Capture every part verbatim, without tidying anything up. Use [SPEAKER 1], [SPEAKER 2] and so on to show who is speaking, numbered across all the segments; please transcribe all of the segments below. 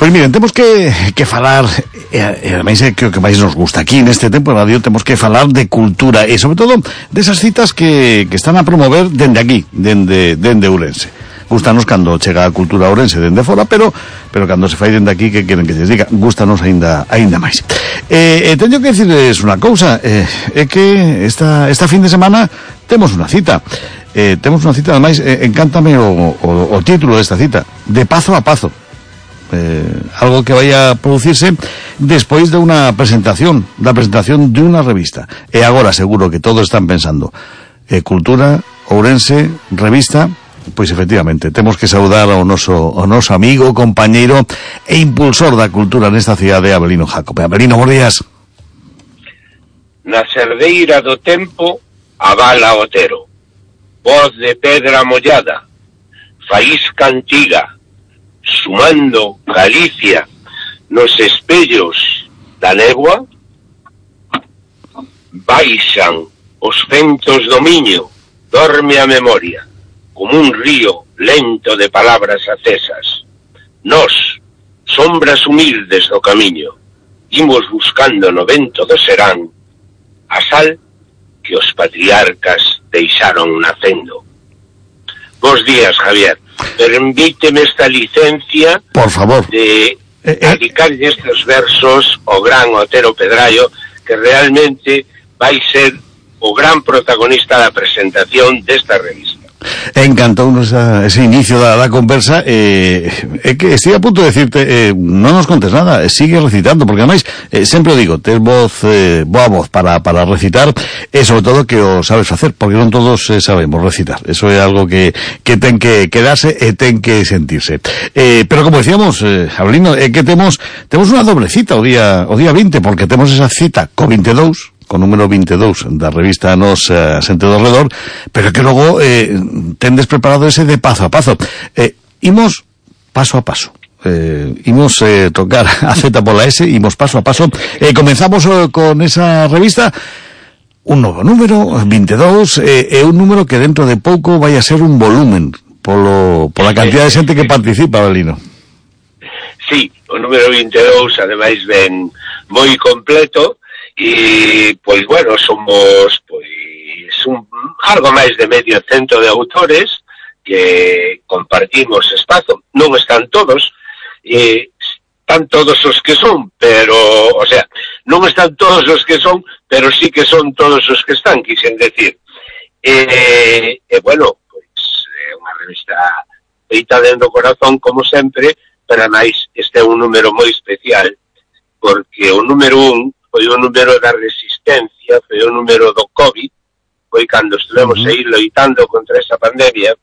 [SPEAKER 1] Pois miren, temos que, que falar, e, e ademais é que o que máis nos gusta aquí neste tempo de radio, temos que falar de cultura e sobre todo desas citas que, que están a promover dende aquí, dende, dende Ourense. Gústanos cando chega a cultura ourense dende fora, pero pero cando se fai dende aquí, que queren que se diga, gústanos aínda aínda máis. Eh, eh, teño que dicirles unha cousa, eh, é que esta esta fin de semana temos unha cita. Eh, temos unha cita, ademais, eh, encántame o, o, o título desta cita, de pazo a pazo. Eh, algo que vai a producirse despois de unha presentación, da presentación de unha revista. E agora seguro que todos están pensando, eh, cultura, Ourense, revista. Pois efectivamente, temos que saudar ao noso, ao noso amigo, compañeiro e impulsor da cultura nesta cidade, Avelino Jácobe. Avelino, bons días.
[SPEAKER 2] Na cerdeira do tempo, Abala Otero. Voz de pedra mollada, faísca antiga, sumando Galicia nos espellos da néboa, baixan os ventos do Miño, dorme a memoria, como un río lento de palabras acesas. Nós, sombras humildes do camiño, imos buscando no vento do serán a sal que os patriarcas deixaron nacendo. Bos días, Javier. Permíteme esta licencia,
[SPEAKER 1] por favor,
[SPEAKER 2] de dedicarlle estes versos ao gran Otero Pedraio, que realmente vai ser o gran protagonista da presentación desta revista.
[SPEAKER 1] Encantounos ese inicio da, da conversa. eh, é que estive a punto de decirte, eh, non nos contes nada, sigue recitando, porque ademais eh, sempre o digo, tes voz, eh, boa voz para, para recitar, e sobre todo que o sabes facer, porque non todos eh, sabemos recitar. Eso é algo que, que ten que quedarse e ten que sentirse. Eh, pero como decíamos, eh, Avelino, é que temos temos unha doble cita o día o día vinte, porque temos esa cita co vinte e dous, con número vinte e dous da revista Nos uh, Xente do Redor, pero que logo eh, tendes preparado ese de pazo a pazo. Eh, imos paso a paso. Eh, imos eh, tocar a Z pola S, imos paso a paso. Eh, comenzamos eh, con esa revista, un novo número, vinte e dous, e eh, un número que dentro de pouco vai a ser un volumen polo, pola cantidad de xente que participa, Avelino.
[SPEAKER 2] Sí, o número vinte e dous, ademais, ben moi completo. E, pois, bueno, somos pois un, algo máis de medio cento de autores que compartimos espazo. Non están todos, eh, están todos os que son, pero, o sea, non están todos os que son, pero sí que son todos os que están, quixen decir. E, e bueno, pois, é unha revista feita dentro do corazón, como sempre, pero máis este é un número moi especial, porque o número un foi o número da resistencia, foi o número do COVID, foi cando estivemos uh-huh. aí loitando contra esa pandemia,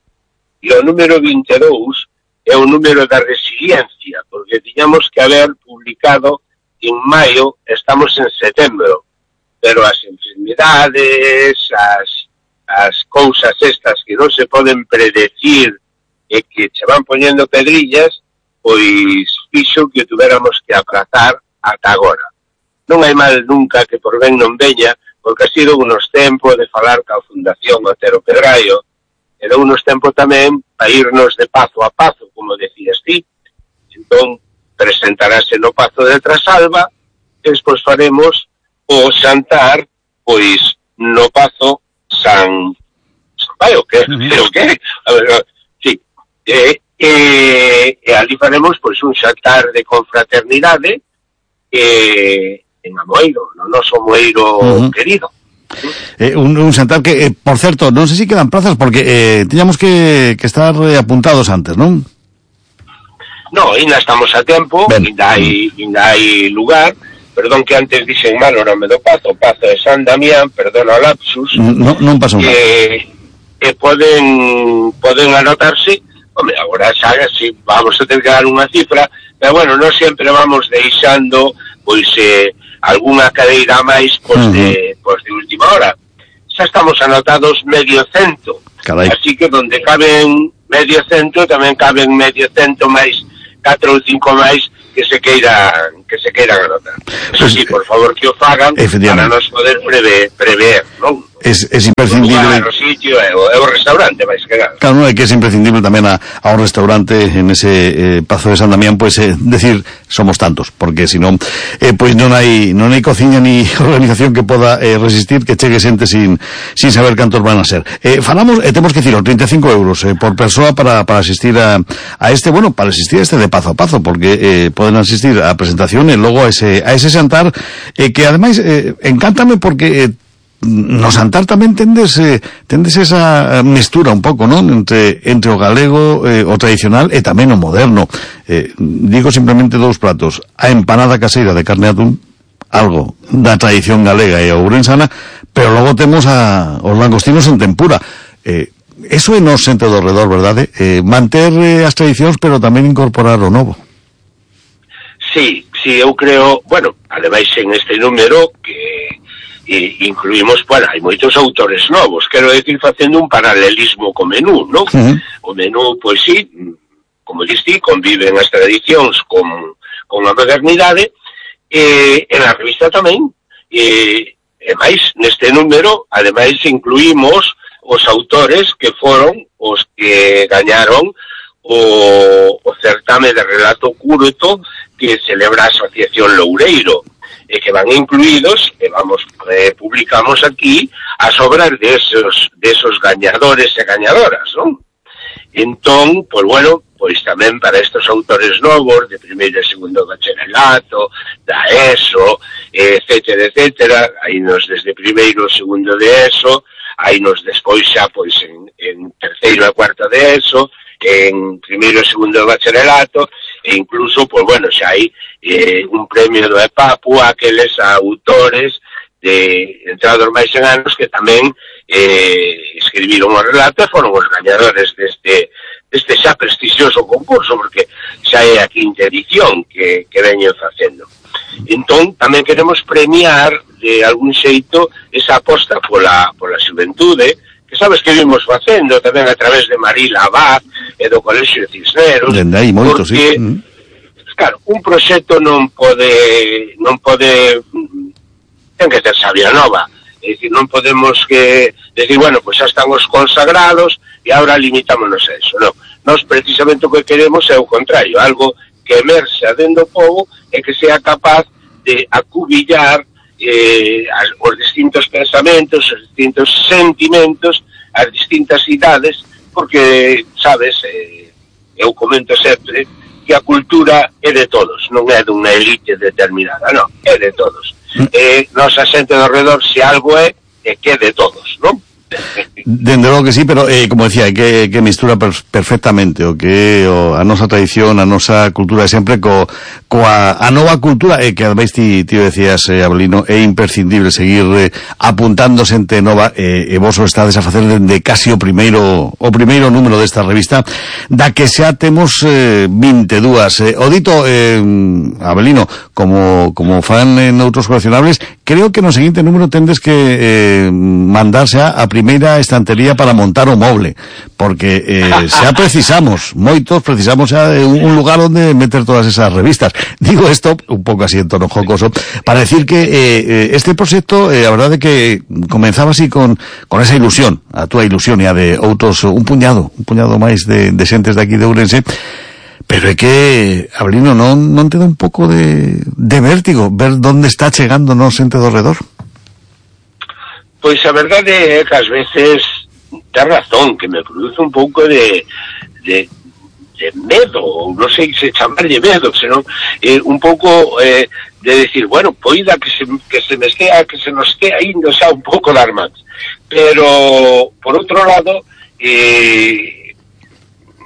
[SPEAKER 2] e o número vinte e dous é o número da resiliencia, porque tiñamos que haber publicado en maio, estamos en setembro, pero as enfermidades, as, as cousas estas que non se poden predecir e que se van poñendo pedrillas, pois fixo que tuveramos que aprazar ata agora. Non hai mal nunca que por ben non veña, porque ha sido unos tempos de falar ca Fundación Otero Pedraio, era unos tempos tamén para irnos de pazo a pazo, como decías ti. Entón, presentarase no Pazo de Trasalba, e despois faremos o xantar, pois, no Pazo San... Vai, o que? O que? A ver, sí. E, e, e ali faremos, pois, un xantar de confraternidade, e... en Amoeiro, no noso Amoeiro uh-huh. querido.
[SPEAKER 1] Eh, un, un xantar que, eh, por certo, non sei se quedan plazas, porque eh, teñamos que, que estar eh, apuntados antes, non?
[SPEAKER 2] No, ainda estamos a tempo, ainda hai, ainda hai lugar, perdón que antes dixen mal o nome do Pazo, Pazo de San Damián, perdón o lapsus,
[SPEAKER 1] no, non pasou nada.
[SPEAKER 2] E, e poden, poden anotarse, home, agora xa, si vamos a ter que dar unha cifra, pero bueno, non sempre vamos deixando, pois, eh, algunha cadeira máis pois, uh-huh. de, pois, de última hora. Xa estamos anotados medio cento.
[SPEAKER 1] Carai.
[SPEAKER 2] Así que donde caben medio cento, tamén caben medio cento máis, catro ou cinco máis que se queiran, que se queiran anotar. Eso pues, sí, por favor, que o fagan para nos poder prever, prever, non?
[SPEAKER 1] es, es imprescindible.
[SPEAKER 2] O lugar, o sitio, é o, é o restaurante, máis que nada.
[SPEAKER 1] Claro, non, é que es imprescindible tamén a, a un restaurante en ese eh, Pazo de San Damián, pois, pues, eh, decir, somos tantos, porque senón, eh, pois pues non hai, non hai cociña ni organización que poda eh, resistir que chegue xente sin, sin saber cantos van a ser. Eh, falamos, e eh, temos que decirlo, treinta e cinco euros eh, por persoa para, para asistir a, a este, bueno, para asistir a este de Pazo a Pazo, porque eh, poden asistir a presentación e logo a ese, a ese xantar, eh, que ademais eh, encántame porque eh, no xantar tamén tendes eh, tendes esa mestura un pouco, non? Entre, entre o galego, eh, o tradicional e tamén o moderno. Eh, digo simplemente dous pratos: a empanada caseira de carne atún, algo da tradición galega e ourensana, pero logo temos a, os langostinos en tempura. Eh, eso é nos xente do redor, verdade? Eh, manter eh, as tradicións, pero tamén incorporar o novo.
[SPEAKER 2] Sí, sí, eu creo, bueno, ademais en este número que e incluímos, bueno, hai moitos autores novos, quero decir, facendo un paralelismo co menú, non? Uh-huh. O menú, pois sí, como diste, conviven as tradicións con, con a modernidade, e en a revista tamén, e, e máis, neste número, ademais, incluímos os autores que foron os que gañaron o, o certame de relato curto que celebra a Asociación Loureiro, e que van incluídos, e vamos, eh, publicamos aquí as obras de esos, de esos gañadores e gañadoras, non? Entón, pois bueno, pois tamén para estes autores novos, de primeiro e segundo bacharelato, da ESO, etcétera, etcétera, hai nos desde primeiro e segundo de ESO, hai nos despois xa, pois, en, en terceiro e cuarto de ESO, en primeiro e segundo bacharelato, e incluso, pois bueno, xa hai eh, un premio do EPAPU a aqueles autores de entrados máis en anos que tamén eh, escribiron o relato e foron os gañadores deste, deste xa prestixioso concurso, porque xa é a quinta edición que, que veñen facendo. Entón, tamén queremos premiar de algún xeito esa aposta pola, pola xuventude, que sabes que vimos facendo tamén a través de Marila Abad e do Colexio de Cisneros,
[SPEAKER 1] dende aí moito,
[SPEAKER 2] porque,
[SPEAKER 1] sí.
[SPEAKER 2] claro, un proxecto non pode non pode ten que ter sabia nova, é dicir, non podemos que decir, bueno, pois pues xa están os consagrados e agora limitámonos a eso, non, nós precisamente o que queremos é o contrario, algo que emerxe dentro do povo e que sea capaz de acubillar eh, as, os distintos pensamentos, os distintos sentimentos, as distintas idades, porque, sabes, eh, eu comento sempre que a cultura é de todos, non é dunha elite determinada, non, é de todos. Eh, nosa xente do redor, se algo é, é que é de todos, non?
[SPEAKER 1] Dende logo que sí, pero eh, como decía, é que, que mistura per, perfectamente o que o, a nosa tradición, a nosa cultura sempre co, coa a nova cultura, e que ademais ti, ti decías, eh, Abelino, é imprescindible seguir eh, apuntando xente nova, eh, e vos o estades a facer dende casi o primeiro o primeiro número desta revista, da que xa temos eh, vinte e dúas. Eh, o dito, eh, Abelino, como, como fan en outros coleccionables, creo que no seguinte número tendes que eh, mandarse a, a primeira estantería para montar o moble, porque eh, xa precisamos, moitos precisamos xa de un lugar onde meter todas esas revistas. Digo isto un pouco así en tono jocoso, para decir que eh, este proxecto, eh, a verdade que comenzaba así con, con esa ilusión, a túa ilusión e a de outros, un puñado, un puñado máis de, de xentes de aquí de Ourense, pero é que, Abelino, non, non te dá un pouco de, de vértigo ver onde está chegando non xente do redor?
[SPEAKER 2] Pois a verdade é que ás veces ten razón, que me produce un pouco de, de, de medo, ou non sei se chamarlle medo, senón eh, un pouco eh, de decir, bueno, poida que se, que se me estea, que se nos estea indo xa un pouco das mans. Pero, por outro lado, eh,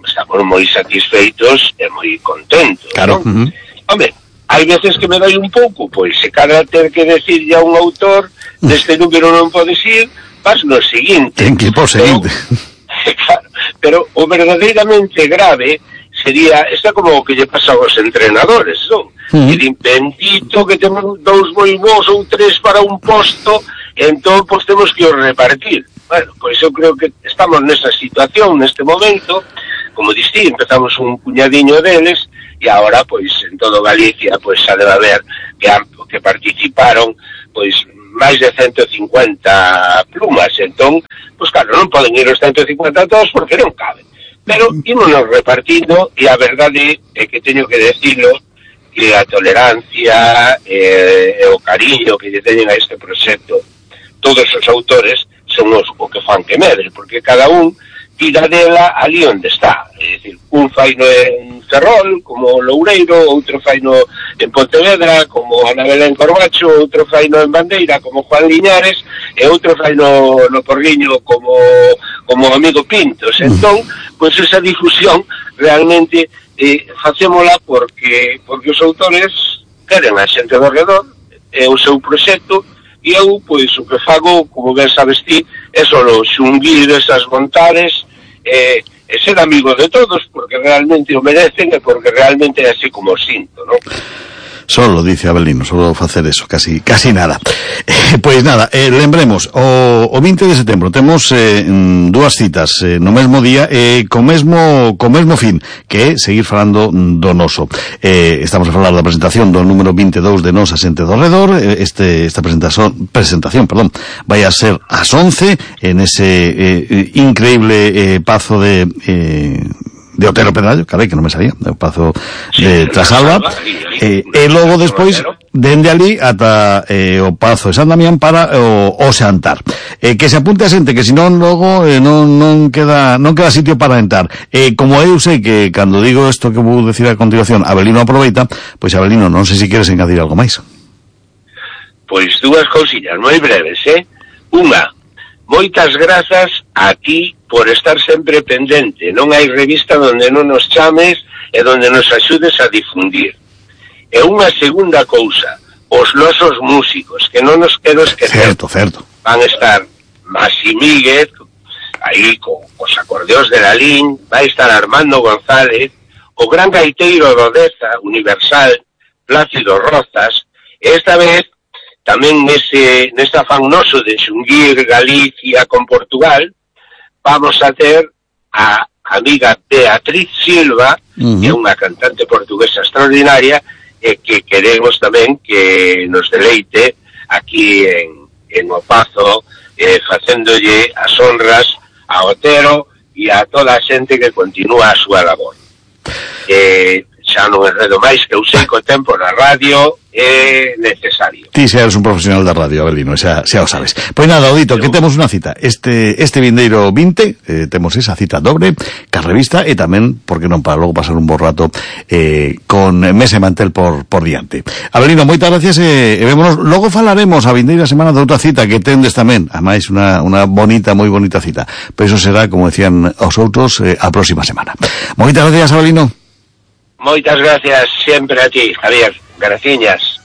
[SPEAKER 2] estamos moi satisfeitos e moi contentos.
[SPEAKER 1] Claro.
[SPEAKER 2] ¿No? Uh-huh. Hombre, hai veces que me dai un pouco, pois se cada ter que decirlle a un autor deste número non podes ir, vas no seguinte.
[SPEAKER 1] Ten que ir por seguinte.
[SPEAKER 2] Pero, claro, pero o verdadeiramente grave sería, está como o que lle pasa aos entrenadores, non? Uh-huh. E bendito que temos dous moi bons ou tres para un posto, e entón, pois, temos que os repartir. Bueno, pois eu creo que estamos nesa situación, neste momento, como distí, empezamos un puñadiño deles, e agora, pois, en todo Galicia, pois, xa debe haber que, que participaron, pois, máis de ciento cincuenta plumas, entón, pois claro, non poden ir os ciento cincuenta todos porque non caben. Pero ímonos repartindo, e a verdade é que teño que decirlo, que a tolerancia e, e o cariño que lle teñen a este proxecto todos os autores son os o que fan que medre, porque cada un tira dela ali onde está. É dicir, un fai no en Ferrol, como Loureiro, outro fai no en Pontevedra, como Ana Belén Corbacho, outro fai no en Bandeira, como Juan Liñares, e outro fai no, no Porriño, como como amigo Pintos. Entón, pois esa difusión realmente eh, facémola porque porque os autores queren a xente do redor, é o seu proxecto, e eu, pois, o que fago, como ben sabes ti, é solo xunguir esas montares e, e ser amigo de todos, porque realmente o merecen e porque realmente é así como o sinto, non?
[SPEAKER 1] Solo, dice Abelino, solo facer eso, casi casi nada. Eh, pois nada, eh, lembremos, o, o vinte de setembro temos eh, dúas citas eh, no mesmo día e eh, co mesmo co mesmo fin, que é seguir falando do noso. Eh, estamos a falar da presentación do número vinte e dous de Nos a xente do redor. Eh, este esta presentación, presentación, perdón, vai a ser ás once en ese eh, increíble eh, pazo de eh, de Otero Pedrallo, carai, que non me sabía, do pazo de Trasalba, e, e logo despois dende ali ata eh, o pazo de San Damián para o, o Xantar. Eh, que se apunte a xente, que senón logo eh, non, non queda non queda sitio para entrar. Eh, como eu sei que cando digo isto que vou decir a continuación, Abelino aproveita, pois Abelino, non sei se queres engadir algo máis.
[SPEAKER 2] Pois dúas cousillas moi breves, eh? Unha, moitas grazas a ti por estar sempre pendente. Non hai revista onde non nos chames e onde nos axudes a difundir. E unha segunda cousa, os nosos músicos, que non nos quero esquecer.
[SPEAKER 1] Certo, certo.
[SPEAKER 2] Van a estar Masi Míguez, aí con os acordeóns de Lalín, vai estar Armando González, o gran gaiteiro do Deza, Universal, Plácido Rozas, e esta vez tamén nese, nese afán noso de xunguir Galicia con Portugal, vamos a ter a amiga Beatriz Silva, uh-huh. que é unha cantante portuguesa extraordinaria, e que queremos tamén que nos deleite aquí en, en O Pazo, eh, facéndolle as honras a Otero e a toda a xente que continúa a súa labor. Eh, xa non enredo máis, que eu sei que o tempo na radio é necesario.
[SPEAKER 1] Ti xa eres un profesional da radio, Abelino, xa, xa o sabes. Pois nada, Odito, que temos unha cita. Este este vindeiro vinte, eh, temos esa cita dobre, ca revista, e tamén, porque non, para logo pasar un bo rato eh, con Mesa e Mantel por, por diante. Abelino, moitas gracias, e, e vémonos. Logo falaremos a vindeira semana de outra cita que tendes tamén, a máis unha, unha bonita, moi bonita cita. Pois iso será, como decían os outros, eh, a próxima semana. Moitas gracias, Abelino.
[SPEAKER 2] Moitas gracias sempre a ti, Javier. Graciñas.